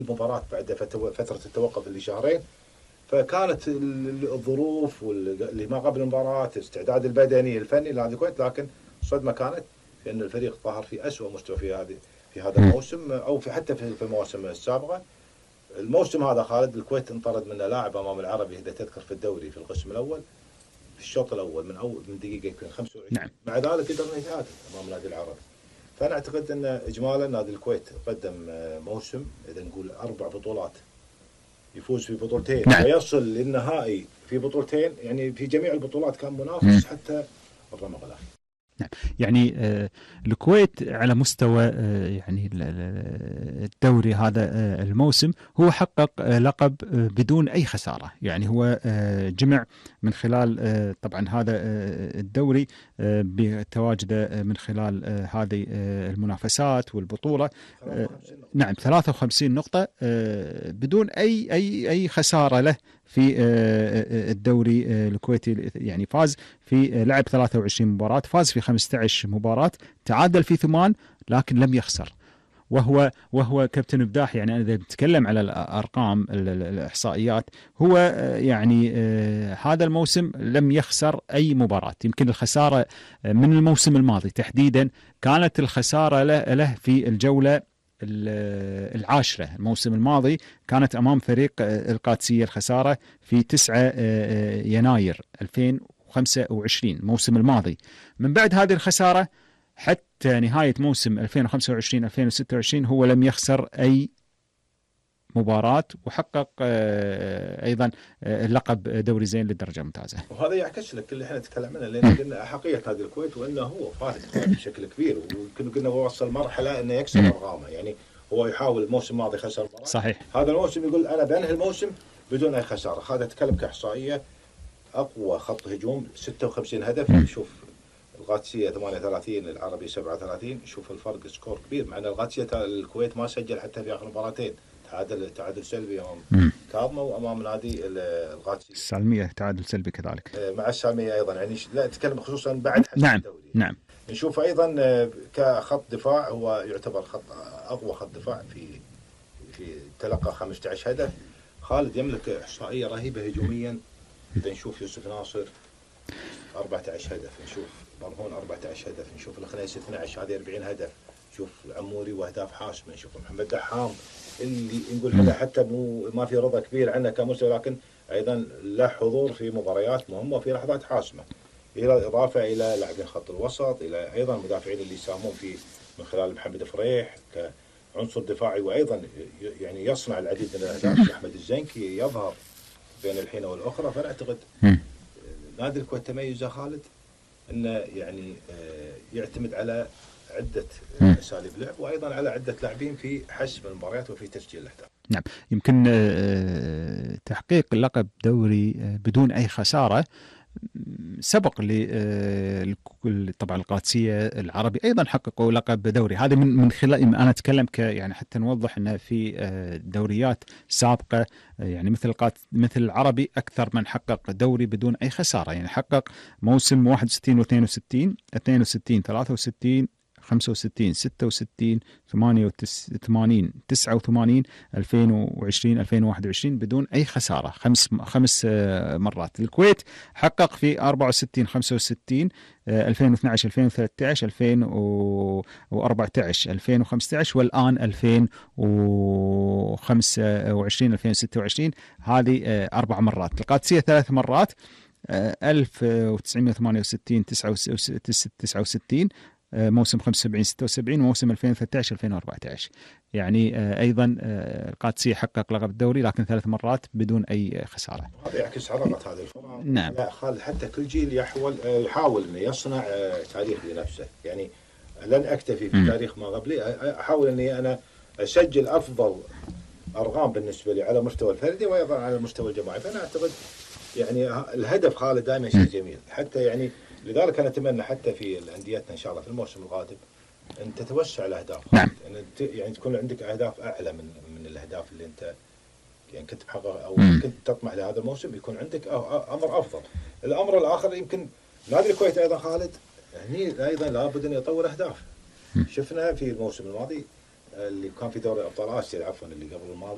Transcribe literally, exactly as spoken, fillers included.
المباراة بعد فترة التوقف اللي شهرين، فكانت الظروف واللي ما قبل المباراة استعداد البدني الفني لهذا الكويت، لكن الصدمة كانت في أن الفريق ظهر في أسوأ مستوى في هذه في هذا الموسم أو في حتى في المواسم السابقة. الموسم هذا خالد الكويت انطرد منه لاعب أمام العربي إذا تذكر في الدوري في القسم الأول في الشوط الأول من أول من دقيقة يمكن خمسة وعشرين. نعم. مع ذلك قدرنا نتعادل أمام النادي العربي. فأنا أعتقد أن إجمالا نادي الكويت قدم موسم إذا نقول أربع بطولات، يفوز في بطولتين نعم. ويصل للنهائي في بطولتين، يعني في جميع البطولات كان منافس حتى الرمق الأخير. نعم. يعني الكويت على مستوى يعني الدوري هذا الموسم هو حقق لقب بدون أي خسارة، يعني هو جمع من خلال طبعا هذا الدوري بتواجده من خلال هذه المنافسات والبطولة. نعم ثلاثة وخمسين نقطة بدون أي أي أي خسارة له في الدوري الكويتي، يعني فاز في لعب ثلاثة وعشرين مباراة، فاز في خمسة عشر مباراة، تعادل في ثمان لكن لم يخسر. وهو وهو كابتن بداح، يعني أنا إذا بتكلم على الأرقام الإحصائيات، هو يعني هذا الموسم لم يخسر أي مباراة. يمكن الخسارة من الموسم الماضي تحديدا كانت الخسارة له في الجولة العاشرة الموسم الماضي، كانت أمام فريق القادسية الخسارة في تسعة يناير ألفين وخمسة وعشرين الموسم الماضي. من بعد هذه الخسارة حتى نهاية موسم ألفين وخمسة وعشرين ألفين وستة وعشرين هو لم يخسر أي مباراة، وحقق أيضا اللقب دوري زين للدرجة الممتازة. وهذا يعكس لك اللي احنا نتكلم عنه، لأن قلنا حقيقة نادي الكويت وأنه هو فارق بشكل كبير، ويمكن قلنا وصل مرحلة أنه يكسر أرقامه. يعني هو يحاول الموسم الماضي خسر مرة، صحيح. هذا الموسم يقول أنا بأنهي الموسم بدون أي خسارة. هذا أتكلم كإحصائية. أقوى خط هجوم ستة وخمسين هدف. شوف القادسية ثمانية وثلاثين، العربي سبعة وثلاثين. شوف الفرق سكور كبير، مع أن القادسية الكويت ما سجل حتى في آخر مباراتين، تعادل تعادل سلبي أمام كاظمة وأمام نادي القادسية. السالمية تعادل سلبي كذلك مع السالمية أيضا. يعني لا أتكلم خصوصا بعد حسم نعم. الدوري. نعم. نشوف أيضا كخط دفاع هو يعتبر خط أقوى خط دفاع في في تلقى خمسة عشر هدف. خالد يملك إحصائية رهيبة هجوميا. إذا نشوف يوسف ناصر أربعة عشر هدف، نشوف برهون أربعة عشر هدف، نشوف الخنيس اثني عشر، هذه أربعين هدف. نشوف العموري واهداف حاسمه، نشوف محمد دحام اللي نقول هذا حتى مو ما في رضا كبير عنه كمستوى، لكن ايضا له حضور في مباريات مهمه وفي لحظات حاسمه. الى اضافه الى لاعبين خط الوسط، الى ايضا المدافعين اللي يساهمون في من خلال محمد فريح كعنصر دفاعي، وايضا يعني يصنع العديد من الاهداف. احمد الزنكي يظهر بين الحين والاخرى. فانا اعتقد نادي الكويت تميزه خالد انه يعني يعتمد على عدة أساليب لعب، وأيضا على عدة لاعبين في حسم المباريات وفي تسجيل الأهداف. نعم. يمكن تحقيق لقب دوري بدون أي خسارة سبق ل طبعا القادسية العربي أيضا حققوا لقب دوري. هذا من من خلال أنا أتكلم ك يعني حتى نوضح أنه في دوريات سابقة يعني مثل مثل العربي أكثر من حقق دوري بدون أي خسارة. يعني حقق موسم واحد وستين واثنين وستين اثنين وستين ثلاثة وستين خمسة وستين ستة وستين ثمانية وثمانين تسعة وثمانين ألفين وعشرين ألفين وواحد وعشرين بدون أي خسارة خمس خمس مرات. الكويت حقق في أربعة وستين خمسة وستين ألفين واثني عشر ألفين وثلاثة عشر ألفين وأربعة عشر ألفين وخمسة عشر والآن ألفين وخمسة وعشرين ألفين وستة وعشرين. هذه أربع مرات. القادسية ثلاث مرات ألف وتسعمائة وثمانية وستين تسعة وستين موسم خمسة وسبعين ستة وسبعين وموسم ألفين وثلاثة عشر ألفين وأربعة عشر. يعني أيضا القادسية حقق لقب الدوري لكن ثلاث مرات بدون أي خسارة. هذا يعكس عظمة هذه الفرق. نعم. خالد حتى كل جيل يحاول يحاول أنه يصنع تاريخ لنفسه. يعني لن أكتفي في تاريخ ما قبلي، أحاول أني أنا أسجل أفضل أرقام بالنسبة لي على مستوى الفردي وأيضا على المستوى الجماعي. فأنا أعتقد يعني الهدف خالد دائما شيء جميل. حتى يعني لذلك أنا أتمنى حتى في الأنديتنا إن شاء الله في الموسم القادم أن تتوسع الأهداف. نعم. أن يعني تكون عندك أهداف أعلى من من الأهداف اللي أنت يعني كنت تحقق أو مم. كنت تطمح لهذا الموسم، يكون عندك أمر أفضل. الأمر الآخر يمكن نادي الكويت أيضا خالد هني أيضا لابد أن يطور أهداف. شفنا في الموسم الماضي اللي كان في دوري أبطال آسيا عفوا اللي قبل الماضي